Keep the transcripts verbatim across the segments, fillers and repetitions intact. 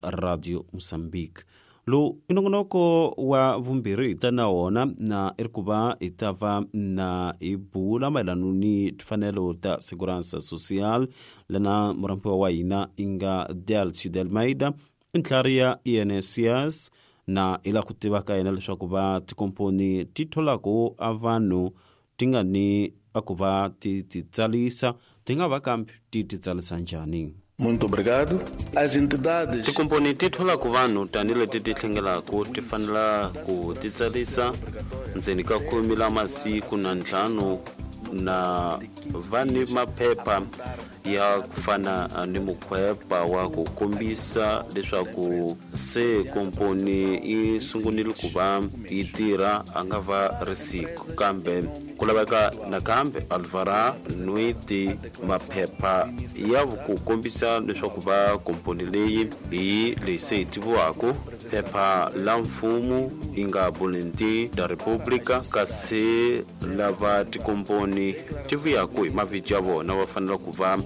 Radio Mozambique. Lowu i nongonoko wa vumbirhi hi ta na wona na i ri ku va hi ta va na hi bula mayelana ni timfanelo ta Segurança Social lana murhambiwa wa hina i nga Delcio de Almeida i ntlhari ya I N S S na hi lava ku tiva ka yena leswaku va tikomponi ti tholaku a vanhu ti nga ni a ku va ti ti tsalisa ti nga va kambe ti ti tsalisa njhani. Muito obrigado. As entidades tikomponi ti tholaku vanhu tanihileti ti tlhengelaka ti fanela ku ti tsalisa ndzeni ka khume la masiku na ntlhanu na va ni maphepha ya ku fana ni mukhwepa wa ku kombisa leswaku se komponi yi sungunile ku va yi tirha a nga va ri siku kambe ku laveka nakambe alvara nwiti maphepha ya ku kombisa leswaku va komponi leyi hi leyi se yi tiviwaka phepha la mfumo yi nga Boletim da República kasi lava tikomponi ti vuyaku hi mavito ya vona va fanele ku va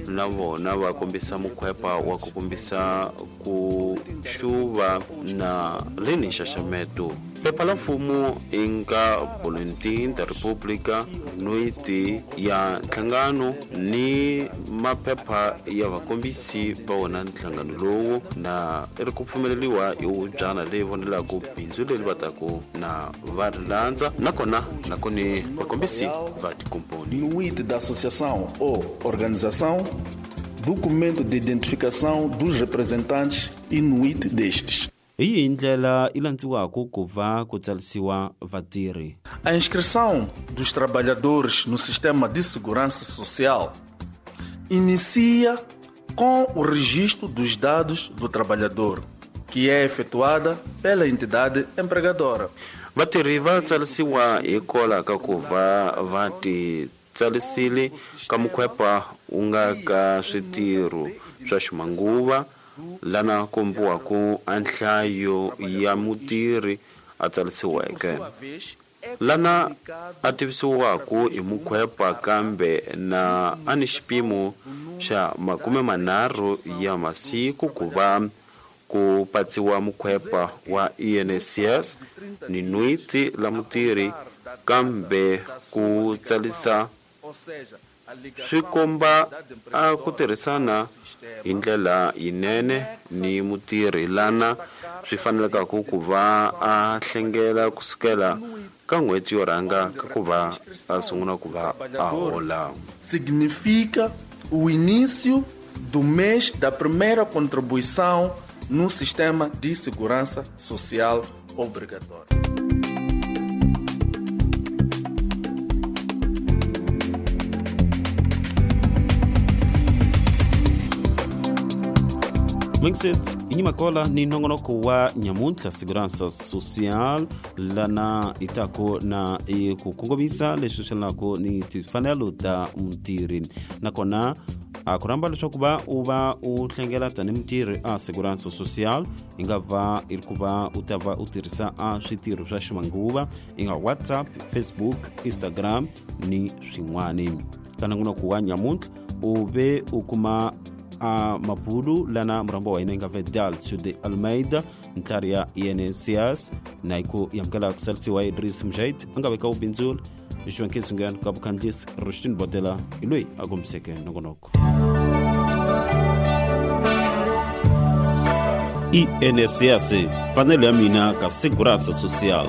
na vona va kombisa mukhwepa wa ku kombisa ku xuva na leni nxaxameto. Phepha la mfumo i nga Boletim da República nwiti ya nhlangano ni maphepha ya vakombisi va wona nhlangano lowu na i ri ku pfumeleriwa hi hubyana leyi vonelaka bindzu leri va taku na va ri landza nakona nakoni vakombisi va tikomponi. Nuite da associação ou organização, documento de identificação dos representantes e nuite destes. Hi yihi ndlela yi landziwaka ku va ku tsarisiwa vatirhi? A inscrição dos trabalhadores no sistema de segurança social inicia com o registro dos dados do trabalhador, que é efetuada pela entidade empregadora. Vatirhi va tsarisiwa hikwalaho ka ku va va ti tsarisile ka mukhwepa wu nga ka switirho swa ximanguva lana kombiwaka a nhlayo ya mutirhi a tsarisiweke lana a tivisiwaka hi mukhwepa kambe na a ni xipimo xa makume manharhu ya masiku ku va ku patsiwa mukhwepa wa I N S S ni nwiti la mutirhi kambe ku tsarisa swi komba a ku tirhisana hi ndlela yinene ni mutirhi lana swi fanelekaku ku va a hlengela kusukela ka n'hweti yo rhanga ka ku va a sungula ku va a hola. Significa o início do mês da primeira contribuição no sistema de segurança social obrigatório. Mixit inyimakola ni nongonoko wa nyamuntlha Segurança Social lana itako na i ku kongomisa leswi swi lako ni timfanelo ta mutirhi nakona a ku rhamba leswaku va u va u hlengela tanihi mutirhi a Segurança Social i nga va i ri ku va u ta va u tirhisa a switirho swa ximanguva i nga WhatsApp, Facebook, Instagram ni swin'wani. Ka nongonoko wa nyamuntlha u ve u kuma a mabulu lana murhambo wa hina yi nga ve Delcio de Almeida ntlhari ya I N S S na hi ku amukela ku tsarisiwa Idris Mujahid a nga veka vubindzula João Kizungan ka vukhandlisi Rustin Bodela hi loyi a kombiseke nongonoko. I N S S fanelo ya mina ka Segurança Social.